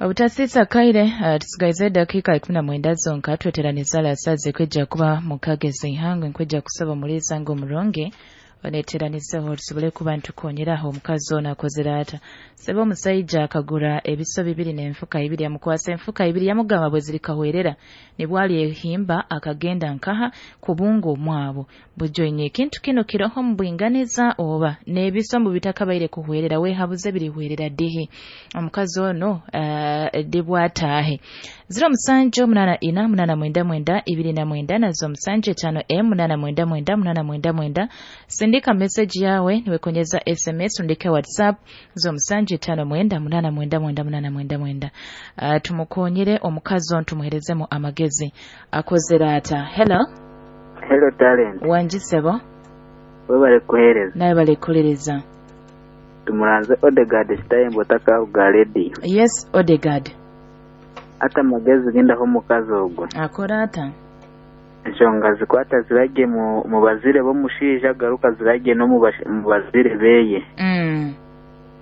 Obutasisa kaire tusigaize dakika 19 zonka tweteraniza lasaze kwijja kuba mukagezi ihangwe nkwijja kusaba mulisa ngo omurungi oneteranizeho tusobole kuba ntukonyeraho omukazi ono akozere ata. Sebe omusaija akagura ebiso bibiri n'enfuka ibiri, yamukwasa enfuka ibiri, yamugamba bwe zirikahwerera nibwali ehimba akagenda nkaha kubunga omwabo. Bujoinye ekintu kino kiroho mu bwinganiza oba n'ebiso mu bitakabaire kuhwerera wehabuze birihwerera dihi. Omukazi ono dibwataahe 07 8 4 8 9 29 nazo 7 5 M 8 9 9 8 9. Sindika message yawe niwekonyeza SMS, undike WhatsApp zo 7 5 9 8 9 8 9. Tumukonyere omukazi ono, tumuherezemu amagezi akozera ata. Hello. Hello talent. Wanjisebo. Webale kuhereza. Naye bale kulereza. Tumuranze Odegaard Stayembo takavuga radio. Yes Odegaard. Ata magezi genda ho mukazi ogwo. Akora ata? Ensonga zikwata zirage mu bazire bomushija garuka zirage no mu bazire beye.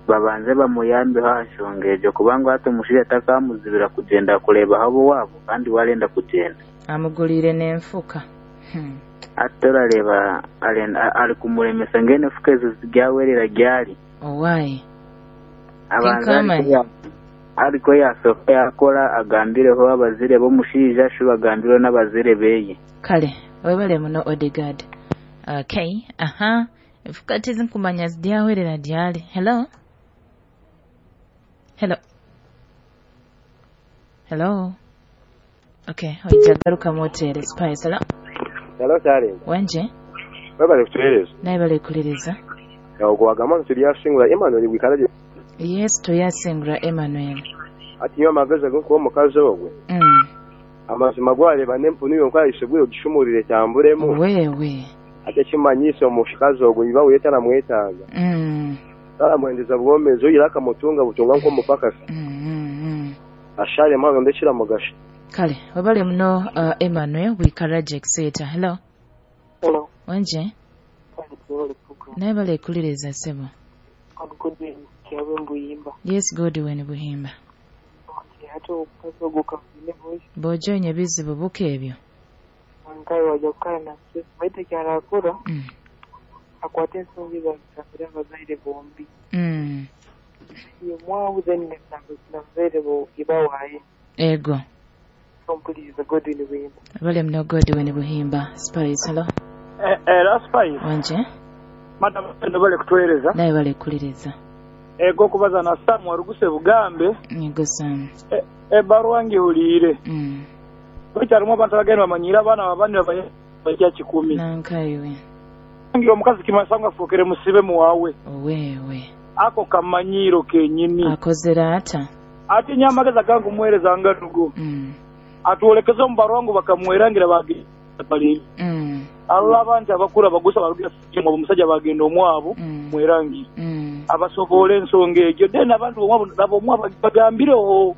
Babanze bamuyambe hashonga ejo kubanga ate omushija atakamuzibira kugenda kureba habo wabo kandi warenda kugenda. Amugulire n'enfuka. Ate orareba ari kumuremesa ngene enfuka ezo ziryawerera ryari. Owai. Abanza ariko yasoka yakora agambireho abazire bomushija shu bagambiro n'abazire beye. Kale webale muno Odegaard. Okay, aha. Enfuka tizinkumanya ziryawerera ryari. Hello. Hello. Hello. Okay, oijagaruka motere Spice. Hello. Hello talent. Wanje. Webale kutuhereza. Naye bale kulereza. Yago wagamba nti lyasingula Emmanuel bwikalaje. Yes, toyasingula Emmanuel. Ati nyo amagezi ago omukazi ogwe. Amazima gwareba n'empunu yonka isebwe ogishumurire tambulemu. Wewe. Ate kimanyisa omukazi ogwe iba wetara mwetaaga. Taramwendeza bwomezi oyira akamutunga butunga nk'omupakasi. Ashale mwana ndekira mugasha. Kale, webale muno Emmanuel bwikalaje etc. Hello. Hello. Wanje. Naye bale kuliriza sebo. Yes, Godwin Buhimba. Bojoinye bizibu buke ebyo. Ego. Bale mno Godwin Buhimba. Spice, hello. Era Spice. Wanje. Madam bale kutuhereza. Naye bale kuliriza. Ego kubaza na Samu waruguse bugambe. Ego Samu. Ebaruwa ngihuliire. Bikyalimu abantu abagenda bamanyira abaana babandi bajja 10. Nankaiwe. Ngira omukazi kimasanga afuukire musibe muwawe. Owewe. Ako kamanyiro kenyini. Akozera ata? Ate nnyo amagezi agange omuweereza nga nugo. Atwolekeze omu baruwa ngu bakamwerangira bagenda bali. Alola abantu abakulu abagusa barugira omusajja bagenda omwabo mwerangi. Abasobola ensonga egyo then abantu omwabo nabo omwabo bagambireho.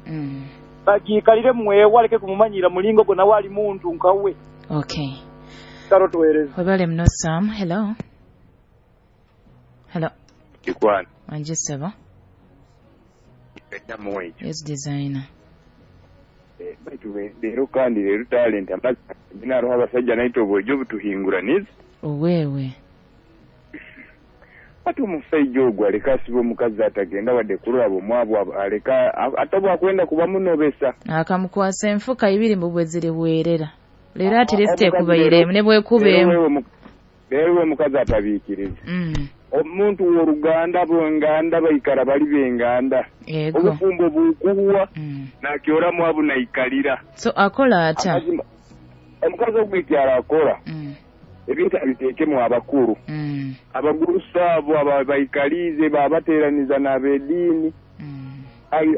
Bagiikalire mwewe aleke kumumanyira mulingo gwo nawe ali muntu nkawe. Okay. Karo tuweereze. Webale muno Sam. Hello. Hello. Kikwana. Wanje sebo. Yes designer. Baitu leero kandi leero talent amazi naroho abasajja naito obwojo butuhinguraniza. Owewe. Ate omusajja ogwo aleka asiba omukazi atagenda wadde kulaba omwabo aleka ate bwakwenda kuba munobesa. Akamukwasa enfuka ibiri mu bwe zirihwerera. Leero ati lisite ekubairemu ne bwekubeemu. Leero we mukazi atabiikiriza. Omuntu w'oluganda bwenganda baikara bali benganda. Obufumbo bukuwa nakyora mwabu naikalira. So akola ata? Omukazi ogwikyala akola. Ebintu abiteekemu abakulu. Abagurusa abo abaikalize babateeraniza n'ab'eddiini.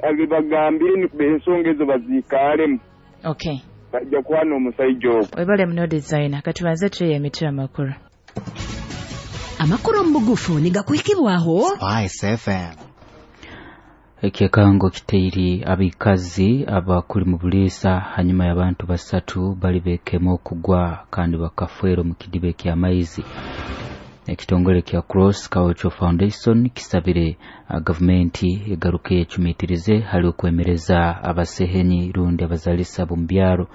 Abibagambire ensonga ezo baziikaalemu. Okay. Bajja kuwana omusajja ogwo. Webale muno designer katubanze tuye emitwe amakulu. Amakuru mubugufu nigakwikibwaho Spice FM. Ekyekango kiteiri abikazi abakuli mu buliisa hanyuma y'abantu basatu bali bekemo okugwa kandi bakafwera mu kidiba ky'amaizi. Ekitongole kya Cross Cultural Foundation kisabire gavumenti egaruke ecumitirize hali okwemereza abasehenyi rundi abazalisa b'omu byaro.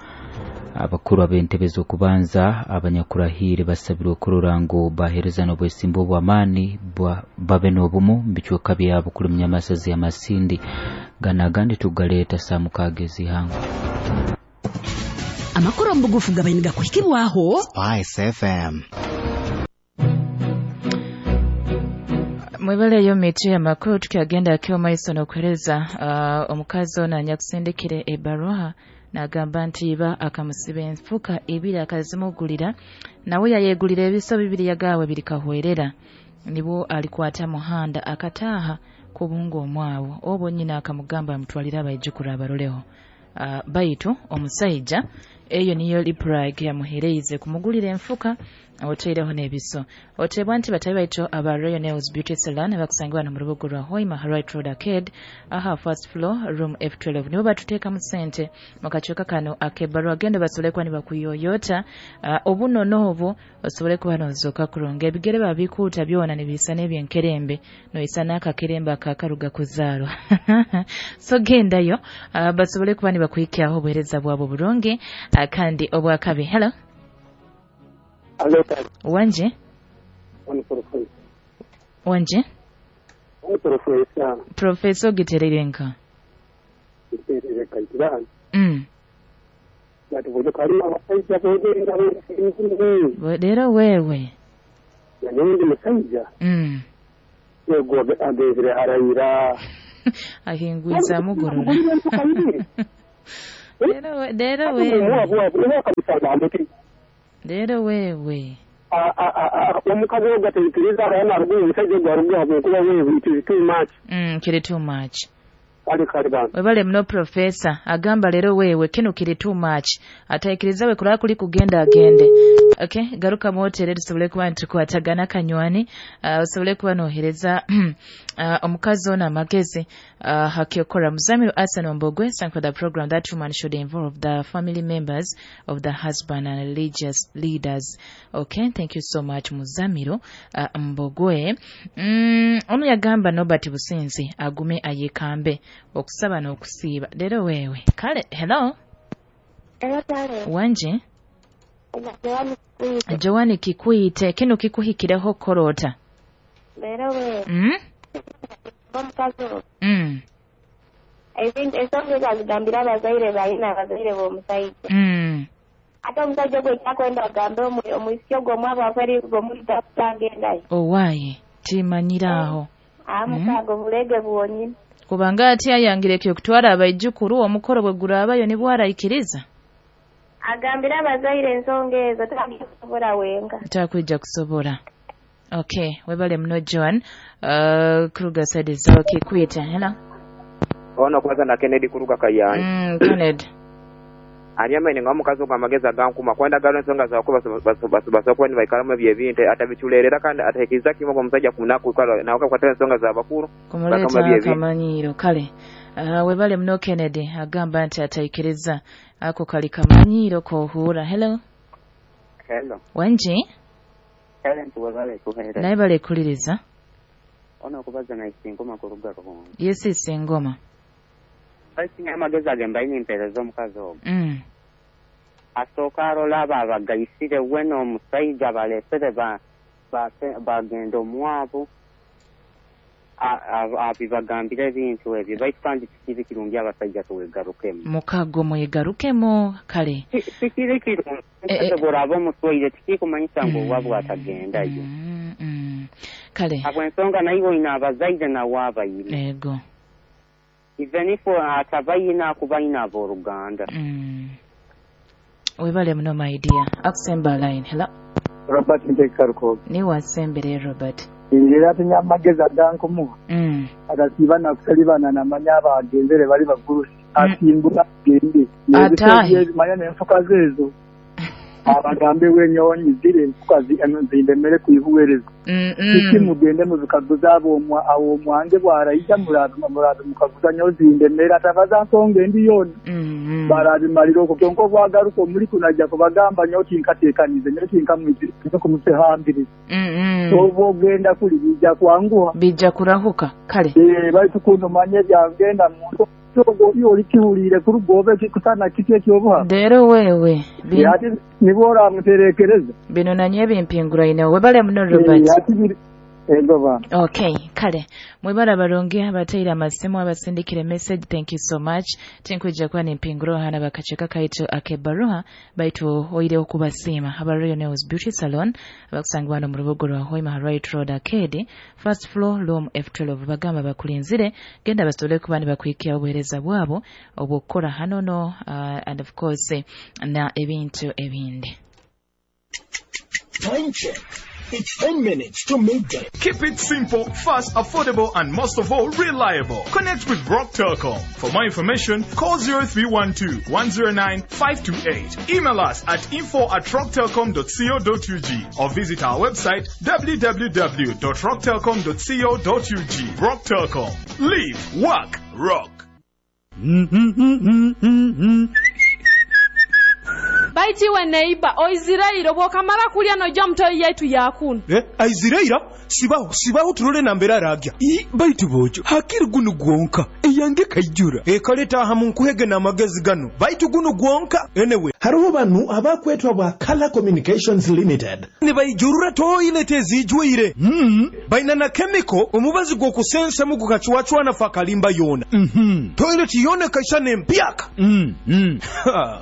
Abakuru ab'entebe z'okubanza abanyakurahire basabirwe okurora ngu bahereza n'obwesimbu obw'amaani babe n'obumu mu bicweka byabo kuli munyamasazi ya Masindi. Gana agandi tugaleeta saa 6 ez'ihangwe. Amakuru omu bugufu gabaine gakuhikibwaho Spice FM. Mwebaleyo miti y'amakuru tukyagenda akeo maiso n'okuhereza omukazi ono anyakusindikire ebaruha nagamba nti iba akamusiba enfuka ibiri akazimugulira, nawe yayegulira ebiso bibiri yagawe birikahwerera, nibwo alikwata muhanda akataaha kubunga omwawo obwo nyina akamugamba amutwalire abaijukuru abaroleho. Baitu omusaija eyo niyo liprag yamuhereize kumugulira enfuka oteireho n'ebiso. Otebwa nti batabi baitu aba Royal Nails Beauty Salon abakusangibwa mu rubuga rwa Hoima Right Road Arcade aha first floor room F12 nibo batuteekamu sente mu kacuuka kano ak'ebbaluwa. Genda basobole kuba nibakuyoyota obuno n'obu osobole kuba nozooka kurungi. Ebigere babikuuta byona nibiisa n'ebyenkerembe noisa n'akakerembe akakaruga kuzaarwa. So gendayo basobole kuba nibakuhikyaho obuheereza bwabo burungi kandi obwakabi. Hello. Hello. Wanje? Wanje? Professor. Professor giterere nka. Giterere kaitirani. Rero wewe. Nindi musajja. Yego agezere arayira. Ahingwiza mugorora. Rero wewe. Rero wewe. Omukazi ogwo ateikiriza abaana arugu omusajja ogwo arugu habwokuba wewe it is too much. Kiri too much. Kale bana. Webale muno professor agamba lero wewe kino kiri too much. Ataikiriza we kulaba kuli kugenda agende. Okay, garuka motere tusobole kuba ntukwatagana kanywani, osobole kuba nohereza omukazi ono amagezi hakyokora. Muzamiru Asan Mbogwe, thank for the program that woman should involve the family members of the husband and religious leaders. Okay, thank you so much Muzamiru Mbogwe. Ono yagamba Nobert Businzi agume ayekambe okusaba n'okusiiba. Leero wewe. Kale, hello. Hello, tale. Wanje? Joani Kikwite, kino kikuhikireho korota. Leero wewe. Omukazi. I think ensonga ezo azigambira abazaire balina abazaire b'omusajja. Ate omusajja gwe kyakwenda agambe omwisiki ogwo omwabo aferi gomuyita kutagendayo. Owaaye, timanyiraaho. Amukago bulege bwonyini. Kubanga ati ayangireke okutwara abaijukuru omukoro bwe guraabayo nibwo arayikiriza. Agambira abazaire ensonga ezo takusobola wenga. Takwija kusobola. Okay, webale muno Joan. Kruger said zawo Kikwite. Hello. Ono kwanza na Kennedy kuruga Kayanja. Kennedy. Aliamene nga omukazi ogwo amagezi agankuma kwenda galo ensonga zaako basokuba nibaikaramu ebyo ebintu atabiculerera kandi ateekiriza kimu ogwo omusajja kunaku nawe akakwatira ensonga z'abakuru kumuleeta akamanyiiro. Kale webale muno Kennedy agamba nti ataikiriza ako kali kamanyiiro kohuura. Hello. Hello. Wanji? Helen webale kuheera. Naye bale kuliriza. Ono okubaza na Isingoma kuruga Ruhongo. Yes, Isingoma. Basinga amagezi agemba ine empeereza omukazi ogwo. Asooka arola abo abagayisire we n'omusajja baleesere bagenda omwabo abibagambire ebintu ebyo baitu kandi tikiri kirungi abasajja tuwegarukemu. Mukago mwegarukemu kale. Tikiri kirungi bw'oraba omuswaire tikikumanyisa ngu owabwe atagendayo. Kale. Habw'ensonga naiwe oine abazaire nawe abayine. Ego. Even if atabayina akubayina abooluganda. Webale muno my dear. Akusemba line. Hello. Robert Nteekaruko. Ni wasembere Robert. Era atinya amagezi agankumuha. Atasiiba nakusalibana namanya abagenzere bali bagurusi. Asimbula agende. Atahe. Manya n'enfuka zeezo. Abagambe wenyonyi ziri enfuka zindemere kwihuwereza. Kiki mugende mubikaguza ab'omwange bwaraija murabe mukaguza nyowe zindemere atabaza nsonga endi yoona. Barabimalira okwo kyonka obwagaruka omuli kunajja kubagamba nyowe tinkateekanize nyowe tinkamwizire kumuhambiriza. Obu ogenda kuli bijja kwanguha. Bijja kurahuka kale. Baitu kuno manye byagenda muntu oli kihuliire kuruga kusana kiti ekyobuha. Rero wewe nibo oramuterekereza. Bino nanye bimpinguraine webale muno Robert. Okay, kale mwebara barungi abateire amasimu abasindikire message, thank you so much. Tinkwija kuba nimpinguro hana bakacheka kaitu akebaruha baitu oire okubasiima aba Royal Nails Beauty Salon abakusangibwa hano mu rubuga rwa Hoima Right Road Arcade, first floor room F12. Bagamba bakulinzire genda basobole kuba nibakuhikia obuheereza bwabo obw'okukora hano no and of course na ebintu ebindi. Time check. It's 10 minutes to midday. Keep it simple, fast, affordable, and most of all, reliable. Connect with Rock Telcom. For more information, call 0312 109 528. Email us at info@rocktelcom.co.ug or visit our website www.rocktelcom.co.ug. Rock Telcom. Live, work, rock. Baitiwe neiba oizirairo bwokamara kulya nojja mutoyi yaitu yakuna. Aiziraira sibaho turole nambera aragya. Baitu bojo hakiri gunu gwonka eyange kaijura. Ekaleta aha munkuhege na magezi gano. Baitu gunu gwonka enewe. Hariho banu abakwetwa bwa Color Communications Limited. Nibayijurura toilet ezijwire. Baina na chemical omubazi gwokusensa mu gukachwachwana fakalimba yona. Toilet yona kaisane empyaka.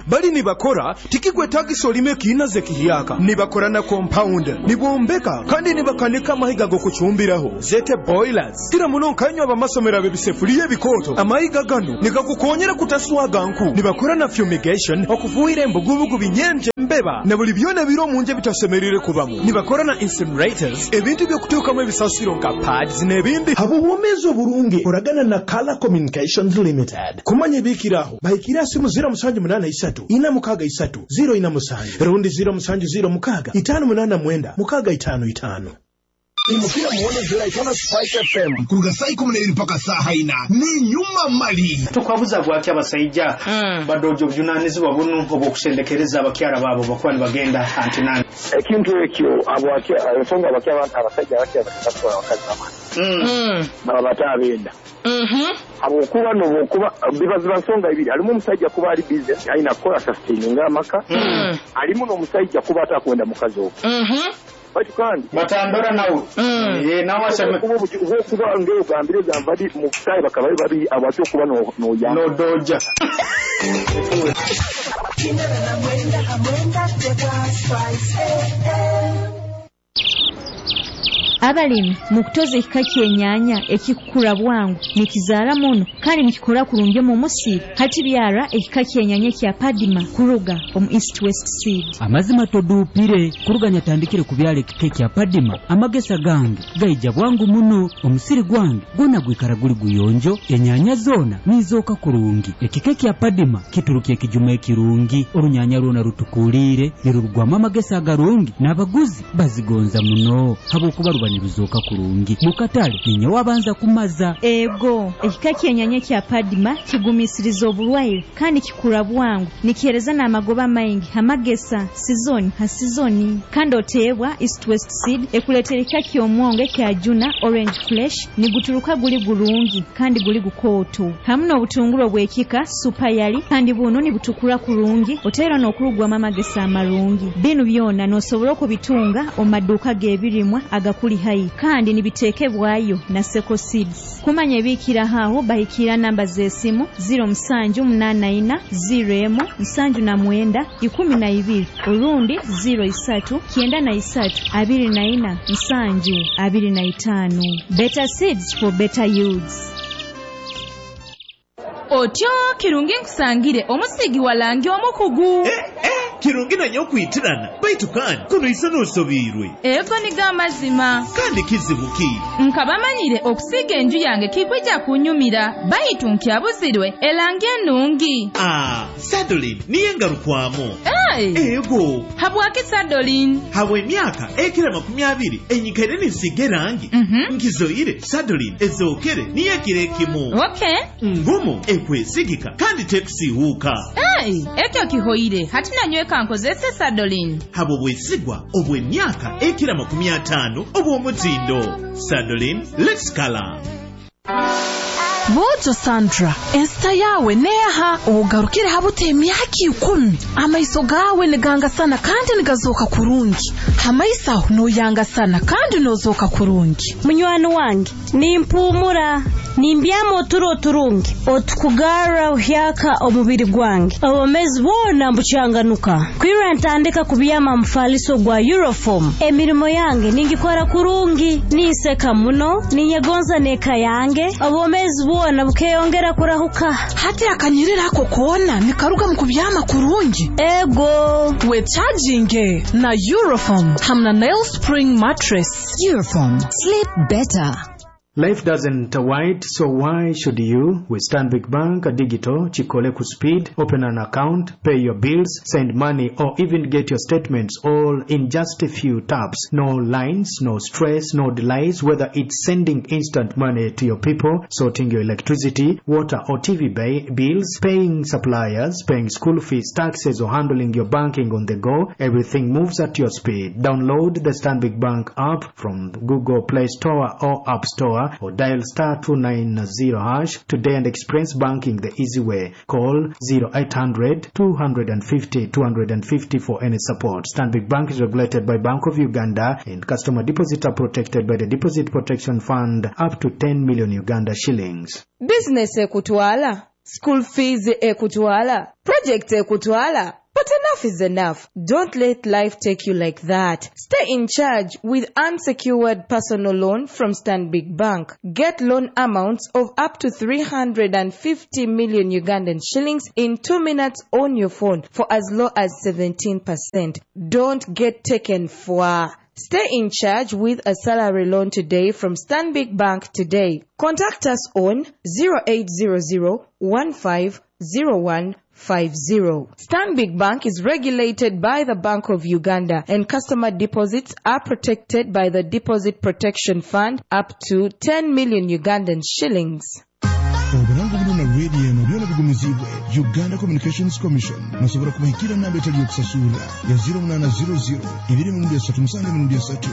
Bali nibakora tikigwetagisa olime kiinaze kihiyaka. Nibakora na compound, nibombeka kandi nibakanika amahiga gokuchumbiraho zete boilers. Kira muno nkanywa abamasomero abebisefuliye ebikoto. Amahiga gano nigakukonyera kutaswaga nku. Nibakora na fumigation okufuhira embugubugu binyenje mbeba na buli byona biro munje bitasemerire kubamu. Nibakora na incinerators ebintu byokutuukamu ebisasiro nka pads n'ebindi. Habuwomezo oburungi oragana na Color Communications Limited. Kumanya ebikiraho bahikira simu 0783 463 047 rundi 0706 589 655. Imukira muone zira itona Spice FM kuruga saa 12 mpaka saa haina ni nyuma mali. Tukwabuza bwaki abasaija badojo bujunanizibwa bunu obwokusendekereza abakyara babo bakuba nibagenda antinani. Ekintu ekyo abwaki ensonga abasajja bakya abakazi bamani baba batabenda. Habwokuba nokuba bibaziba nsonga ibiri alimu omusajja kuba ali busy alina kukola sustaining amaka alimu n'omusajja kuba atakwenda mukazi ogwo. Baitu kandi batandora nawe nawe aseme kuba ngero gambire gambadi mu kutayi bakaba babi abatyo kuba no ya no doja. Abalimi mukutoza ekika ky'ennyanya ekikukura bwangu nikizaara muno kandi nikikora kurungi omu musiri hati byara ekika ky'ennyanya kya Padima kuruga omu East West Seed. Amazima toduupire kuruga nyatandikire kubyala ekika kya Padima amagesa gange gaija bwangu muno omusiri gwange gwona gwikara guli guyonjo ennyanya zoona nizooka kurungi. Ekika kya Padima kituruka ekijuma ekirungi orunyanya rwona rutukuliire nirurugwamu amagesa agarungi n'abaguzi bazigonza muno habwokuba ruba niruzoka kurungi mukatale ninye wabanza kumaza. Ego ekika ky'ennyanya kya Padima kigumisiriza oburwaire kandi kikura bwangu nikihereza n'amagoba maingi amagesa sizoni ha sizoni kandi oteebwa East West Seed ekuleetera ekika ky'omwongo ekya Juna Orange Flesh niguturuka guli gurungi kandi guli gukooto hamu n'obutunguru obw'ekika Super Yali kandi buno nibutukura kurungi oteera n'okurugwamu amagesa amarungi. Binu byona n'osobola okubitunga omu maduuka g'ebirimwa agakuli hai kandi nibitekebwayo na Seko Seeds. Kumanya ebikira haho bahikira namba z'esimu 0784 01 79 12 urundi 03 93 24 7 25. Better seeds for better yields. Otyo kirungi nkusangire omusigi walangi omukugu. Kirungi nanye okwitirana baitu kandi kunoisa n'osobiirwe. Ego nigo amazima. Kandi kizibu ki? Nkaba manyire okusiiga enju yange kikwija kunyumira baitu nkyabuzirwe erangi enungi. Ah, Sadolin niyo engarukwamu. Hey. Ego. Habwaki Sadolin? Habwa emyaka ekira 20 enyikaire ninsiiga erangi. Nkizoire Sadolin ezookere niyo ekiro ekimu. Okay. Ngumu ekwesigika kandi tekusiihuuka. Hey, ekyo kihoire hati nanyweka nkozese Sadolin. Habwo bwesigwa obw'emyaka ekira 50 obw'omutindo. Sadolin, let's color. Bojo Sandra, ensita yawe neha ogarukire habuta emyaka 10 amaiso gawe nigangasana kandi nigazoka kurungi hamaiso aho noyangasana kandi nozoka kurungi. Munywani wange nimpumura nimbyama oturo turungi otukugara uhyaka omubiri gwange obomezi bwona mbucyanganuka kwira ntandika kubyama mufaliso gwa Euroform. Emirimo yange ningikora kurungi ninseka muno ninyegonza neka yange obomezi bwona bukeyongera kurahuka. Hati akanyirira ako kona nikaruga mu kubyama kurungi. Ego we charging na Euroform hamna Nail Spring mattress. Euroform, sleep better. Life doesn't wait, so why should you? With Stanbic Bank Digital, Chikole Speed, open an account, pay your bills, send money, or even get your statements all in just a few taps. No lines, no stress, no delays, whether it's sending instant money to your people, sorting your electricity, water or TV bills, paying suppliers, paying school fees, taxes, or handling your banking on the go, everything moves at your speed. Download the Stanbic Bank app from Google Play Store or App Store, or dial *290# today and experience banking the easy way. Call 0800 250 250 for any support. Stanbic Bank is regulated by Bank of Uganda and customer deposits are protected by the Deposit Protection Fund up to 10 million Uganda shillings. Business ekutwala, school fees ekutwala, project ekutwala. But enough is enough. Don't let life take you like that. Stay in charge with unsecured personal loan from Stanbic Bank. Get loan amounts of up to 350 million Ugandan shillings in 2 minutes on your phone for as low as 17%. Don't get taken for. Stay in charge with a salary loan today from Stanbic Bank today. Contact us on 0800 1501 50. Stanbic Bank is regulated by the Bank of Uganda and customer deposits are protected by the Deposit Protection Fund up to 10 million Ugandan shillings. Oburango buno na radio eno byona bigumizibwe Uganda Communications Commission. Nasobora kubahikira namba etali yokusasura ya 0800 2 3 7 3.